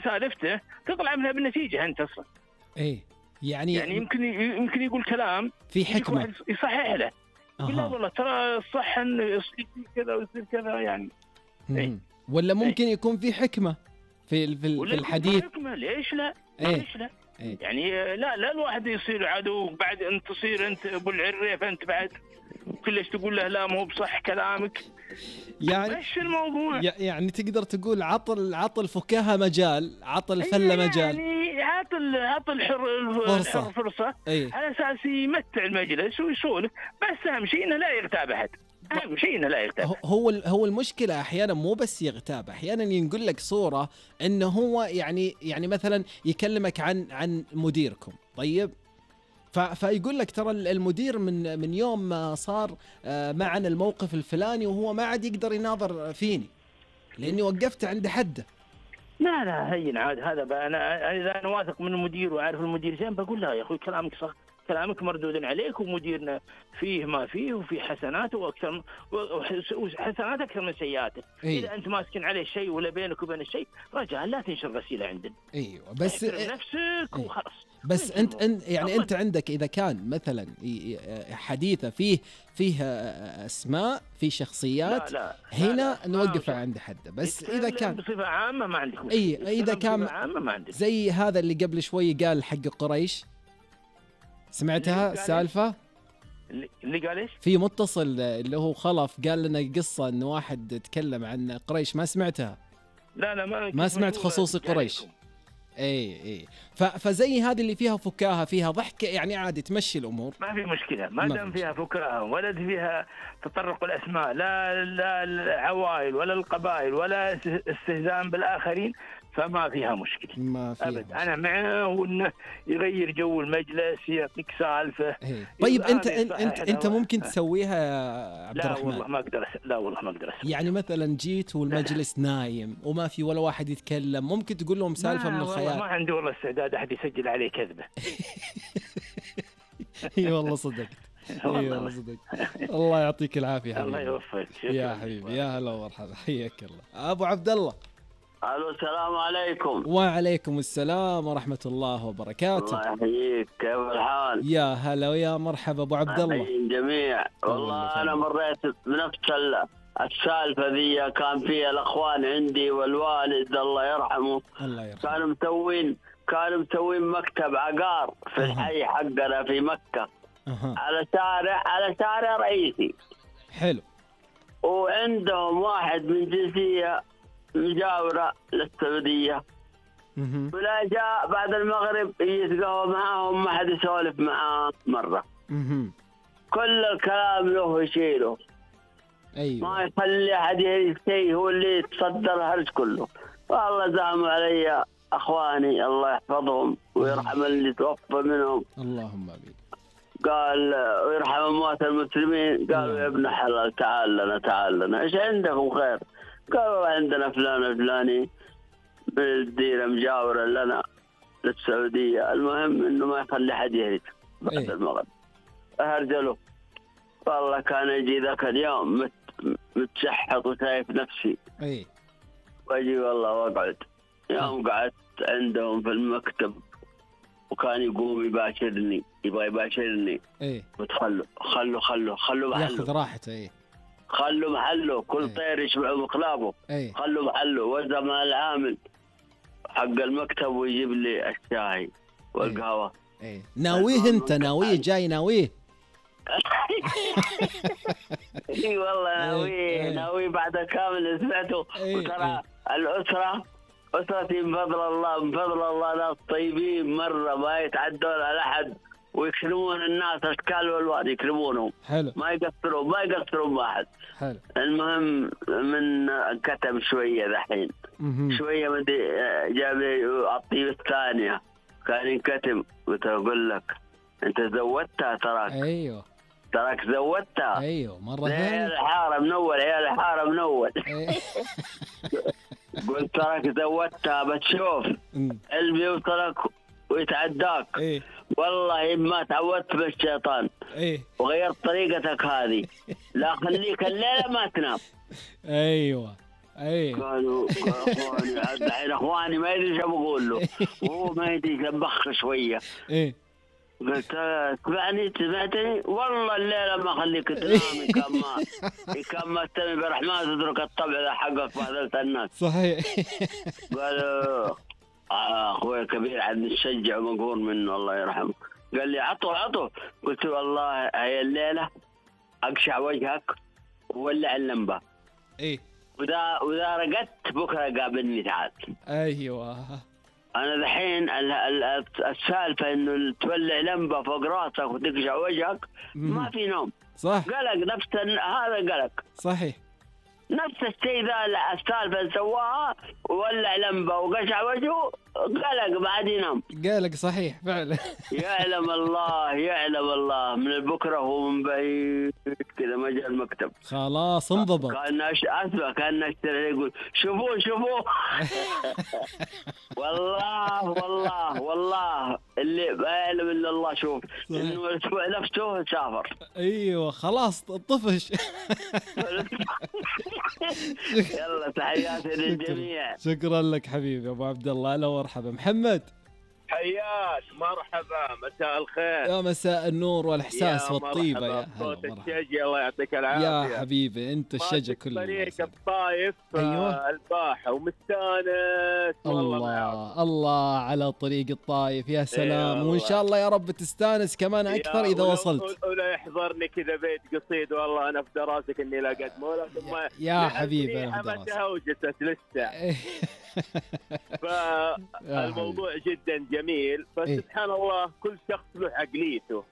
سالفته تطلع منها بالنتيجة أنت أصلا. يعني يمكن يقول كلام في حكمة يصحح له. لا والله ترى الصح إنه يصير كذا ويصير كذا يعني. ولا ممكن يكون في حكمة في الحديث. حكمة ليش لا؟ ليش لا؟ يعني لا الواحد يصير عدو بعد أنت تصير أنت أبو العريف أنت بعد كلش تقول له لا مو بصح كلامك. يعني ايش الموضوع؟ يعني تقدر تقول عطل فكاهة مجال، عطل فلة مجال، يعني عطل فرصة على أساس يمتع المجلس ويسولف. بس أهم شيء إنه لا يغتاب أحد. أهم شيء إنه لا يغتاب. هو المشكلة أحيانا مو بس يغتاب، أحيانا ينقل لك صورة إنه هو يعني مثلا يكلمك عن مديركم. طيب فيقول لك ترى المدير من يوم ما صار معنا الموقف الفلاني وهو ما عاد يقدر يناظر فيني لأني وقفت عند حده. لا هين عاد هذا بقى إذا أنا واثق من المدير وعارف المدير زين بقول له يا أخوي كلامك صح، كلامك مردود عليك ومديرنا فيه ما فيه وفيه حسناته وأكثر وحسنات أكثر من سيئاته. إذا أنت ماسكن عليه شيء ولا بينك وبين الشيء رجاء لا تنشر غسيلة عندنا. بس نفسك وخلاص. بس أنت يعني أنت عندك إذا كان مثلا حديثة فيه أسماء في شخصيات لا هنا نوقف عند حده. بس إذا كان بصفة عامة ما عندك مشكلة. إذا كان زي هذا اللي قبل شوي قال حق قريش، سمعتها سالفة اللي قال إيش؟ في متصل اللي هو خلف قال لنا قصة إنه واحد تكلم عن قريش، ما سمعتها؟ لا ما سمعت خصوصي قريش. فزي هذه اللي فيها فكاهة فيها ضحك يعني عادي تمشي الأمور ما في مشكلة ما دام فيها فكاهة ولا فيها تطرق الأسماء لا العوائل ولا القبائل ولا استهزاء بالآخرين فما فيها مشكلة. ما فيها أبد. أنا معه وإنه يغير جو المجلس يعطيك سالفة. طيب أنت ممكن تسويها يا عبد الرحمن؟ لا والله ما أقدر يعني مثلا جيت والمجلس نايم وما في ولا واحد يتكلم، ممكن تقول لهم سالفة من الخيال؟ ما عندي والله استعداد أحد يسجل عليه كذبة. والله صدقت. والله صدقت. الله يعطيك العافية الله يوفقك يا حبيبي. يا هلا ومرحبا، حياك الله أبو عبد الله. الو السلام عليكم. وعليكم السلام ورحمة الله وبركاته. الله يحييك، كيف الحال؟ يا هلا ويا مرحبا أبو عبد الله. جميع والله أنا مريت بنفس السالفة ذي، كان فيها الأخوان عندي والوالد الله يرحمه كانوا مسوين مكتب عقار في الحي حقنا في مكة على شارع رئيسي. حلو. وعندهم واحد من جنسية مجاورة للسعودية، ولا جاء بعد المغرب يتقهوى معاهم ما حد يسولف معاه مرة. كل الكلام له يشيله. ما يخلي أحد يشتي، هو اللي يتصدر الهرج كله. والله زعموا علي أخواني الله يحفظهم ويرحم اللي توفى منهم. اللهم آمين. قال ويرحم أموات المسلمين. قالوا يا ابن حلال تعال لنا إيش عندكم خير؟ قالوا عندنا فلان الفلاني بالديرة مجاورة لنا للسعودية، المهم إنه ما يخلي حد يهرج بعد المغرب. أهرجله. والله كان يجي ذاك اليوم متشحط وشايف نفسي. واجي والله واقعد. يوم قعدت عندهم في المكتب وكان يقوم يبغى يباشرني. وتخلوا محله. ياخذ راحته. خلوا محله، كل طير يشبع مقلابه. خلوا محله. وزع مع العامل حق المكتب ويجيب لي الشاي والقهوة. ناويه انت جاي ناويه. اي والله ناويه بعد كامل سمعته. وترى أسرتي من فضل الله ناس طيبين مرة، ما يتعدون على أحد ويكرمون الناس أشكال والوان يكرمونهم. حلو. ما يقصرون واحد. حلو. المهم من كتم شوية ذحين شوية مدي جاب الطيب الثانية كان ينكتم. وتقول لك أنت زودتها تراك زودتها. مرة عيال الحارة من أول. قلت تراك زودتها بتشوف اللي يوصلك ويتعداك. والله ما تعودت بالشيطان وغيرت طريقتك هذه. لا خليك الليلة ما تنام. اي قالوا اخواني الحين اخواني ما ادري ايش بقول له، وهو ما يدري يبخ شويه. ايه قلت سمعتني والله الليله ما اخليك تنام. كان ما تستمع برحمن تترك الطبع ذا حقك بهذلت الناس. صحيح. قالوا اخوي الكبير عاد نشجع ومقهور منه الله يرحمه. قال لي عطوا. قلت والله هي الليله اقشع وجهك وولع اللمبه. ايه واذا رقدت بكره قابلني تعال. ايوه. انا دحين السالفه انه تولع لمبه فوق راسك وتقشع وجهك ما في نوم. صح. قلق نفس هذا قلق. صحيح. نفس الشيء ذا السالفه اللي سواها وولع لمبه وقشع وجهه قلق بعد ينام. قالك صحيح فعلا. يعلم الله من البكره هو من بعيد كذا ما جاء المكتب. خلاص انضبط. كان اسمع كان اشتري يقول شوفوه. والله اللي ما يعلم الا الله. شوف انه الاسبوع نفسه سافر. ايوه خلاص طفش. يلا تحياتي للجميع. شكرا لك حبيبي ابو عبد الله. هلا ومرحبا. محمد حياك مرحبا مساء الخير. يا مساء النور والإحساس والطيبة. يا صوت الشجي الله يعطيك العافية يا حبيبي. أنت الشجي كله. طريق الطايف. أيوة. الباحة ومستانس. الله على طريق الطايف. يا سلام. أيوة. وإن شاء الله يا رب تستانس كمان أكثر إذا وصلت. ولا يحضرني كذا بيت قصيد والله أنا في دراسك إني لا قدمه ثم يا حبيبي أنا في دراسك وجست لسه. فالموضوع جدا جميل. فسبحان الله كل شخص له عقليته.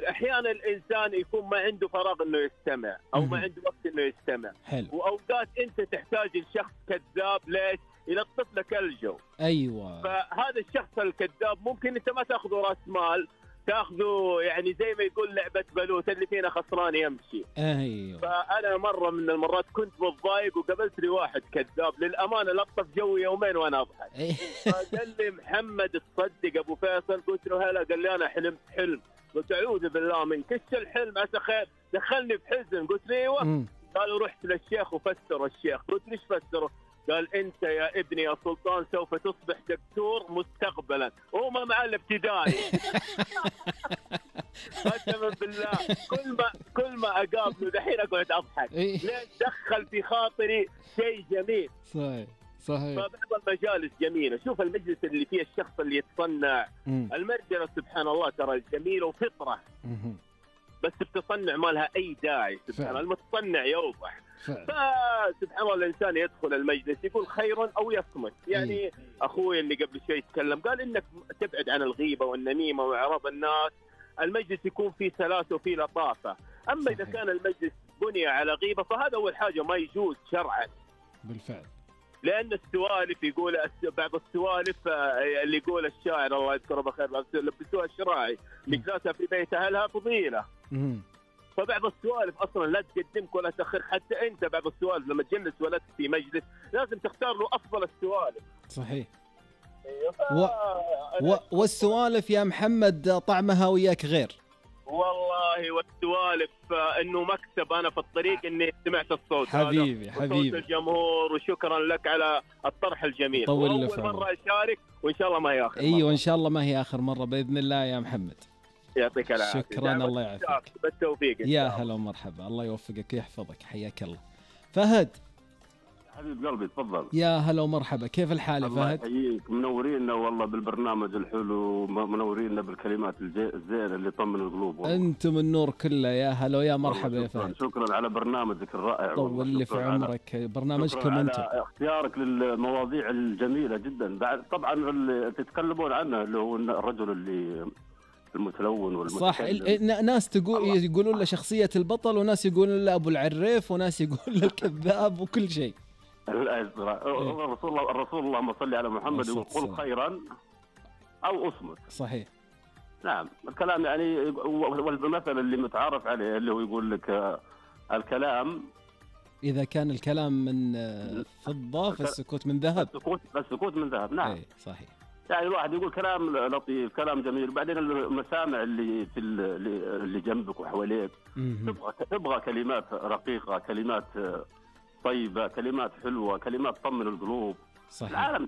احيانا الانسان يكون ما عنده فراغ انه يستمع او ما عنده وقت انه يستمع. حلو. واوقات انت تحتاج لشخص كذاب ليش؟ يلطف لك الجو. ايوه. فهذا الشخص الكذاب ممكن انت ما تاخذه راس مال، تاخذه يعني زي ما يقول لعبه بلوت اللي فينا خسران يمشي. ايوه. فانا مره من المرات كنت متضايق وقابلت لي واحد كذاب للامانه لطف جوي يومين وانا اضحك. فقال لي محمد تصدق ابو فيصل؟ قلت له هلا. قال لي انا حلمت حلم. قلت اعوذ بالله منك ايش الحلم عسى خير؟ دخلني في حزن. قلت له ايوه. قالوا رحت للشيخ وفسر الشيخ. قلت ليش فسره؟ قال انت يا ابني يا سلطان سوف تصبح دكتور مستقبلا. هو ما مع الابتدائي. قسما بالله كل ما اقابله دحين اقعد اضحك. ليش؟ دخل في خاطري شيء جميل. صحيح. فبعض المجالس جميله. شوف المجلس اللي فيه الشخص اللي يتصنع. المرجله سبحان الله ترى جميله وفطره. بس بتصنع ما لها اي داعي. سبحان الله المتصنع يوضح. فسبحان الله الانسان يدخل المجلس يقول خيرا او يصمت. يعني اخوي اللي قبل شوي يتكلم قال انك تبعد عن الغيبه والنميمه واعراض الناس. المجلس يكون فيه سلاسه وفيه لطافه. اما اذا كان المجلس بني على غيبه فهذا اول حاجه ما يجوز شرعا. بالفعل. لان السوالف يقول بعض السوالف اللي يقول الشاعر الله يذكره بخير لبسوها الشراعي لجلاسها في بيت اهلها فضيله. فبعض السوالف اصلا لا تقدمك ولا تاخر. حتى انت بعض السوالف لما تجلس ولد في مجلس لازم تختار له افضل السوالف. صحيح. والسوالف يا محمد طعمها وياك غير. والله والسوالف انه مكسب. انا في الطريق اني سمعت الصوت حبيبي هذا صوت الجمهور. وشكرا لك على الطرح الجميل. طول اول مره اشارك وان شاء الله ما هي اخر. ايوه ان شاء الله ما هي اخر مره باذن الله يا محمد. يعطيك العافيه. شكرا. الله يعافيك. بالتوفيق. يا هلا ومرحبا. الله يوفقك ويحفظك. حياك الله. فهد حبيب قلبي تفضل. يا هلا ومرحبا. كيف الحال يا فهد؟ الله يحييك. منورينا والله بالبرنامج الحلو. منورينا بالكلمات الزينه اللي طمن القلوب. انتم النور كله. يا هلا ويا مرحبا يا فهد. شكرا على برنامجك الرائع. طول لي في عمرك. برنامجكم انتم. اختيارك للمواضيع الجميله جدا. بعد طبعا اللي تتكلمون عنه اللي هو الرجل اللي المتلون والمتكلم. صح. ناس يقولون له شخصيه البطل وناس يقولون له ابو العريف وناس يقولون له الكذاب وكل شيء. الرسول اللهم صل على محمد يقول قل خيرا او اصمت. صحيح. نعم الكلام يعني. والمثل اللي متعارف عليه اللي هو يقول لك الكلام اذا كان الكلام من فضه فالسكوت من ذهب. السكوت من ذهب. نعم. صحيح. يعني الواحد يقول كلام لطيف كلام جميل وبعدين المسامع اللي في اللي جنبك وحواليك تبغى كلمات رقيقه كلمات طيبة، كلمات حلوة، كلمات تطمن القلوب. صحيح. العالم